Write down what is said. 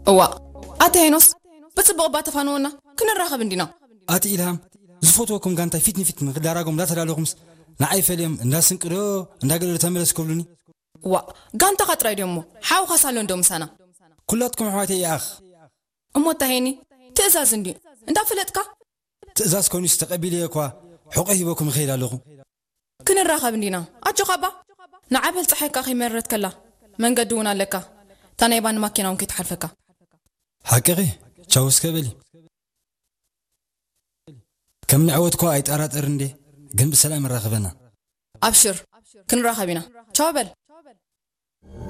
እዋ፣ ኣቲ ሄኖስ፣ ብጽቡቕ እባ ተፋንወና፣ ክንራኸብ እንዲና። ኣቲ ኢልሃም፣ ዝፈትወኩም ጋንታይ ፊት ንፊት ንክዳራጎም እንዳተዳለኹምስ ንዓይ ፈልዮም እንዳስንቅዶ እንዳገለዶ ተመለስ ክብሉኒ። እዋ፣ ጋንታኻ ጥራይ ድዮሞ፣ ሓውኻ ሳሎን ዶ ምሳና? ኩላትኩም ኣሕዋተይ ይኣኽ። እሞ እታ ሄኒ፣ ትእዛዝ እንድዩ እንዳፈለጥካ? ትእዛዝ ኮይኑስ ተቐቢለዮ እኳ ሕቆ ሂበኩም እኸይድ ኣለኹ። ክንራኸብ እንዲና። ኣጆኻ እባ። ንዓበል ጸሓይካ ከይመረረትከላ መንገዲ እውን ኣለካ። እታ ናይ ባኒ ማኪና እውን ከይትሓልፈካ። ሓቅኺ። ቻው እስከ በሊ። ከም ንዕወት እኳ ኣይጠራጠር እንዴ፣ ግን ብሰላም ይራኸበና። ኣብሽር፣ ክንራኸብ ኢና። ቻው በል።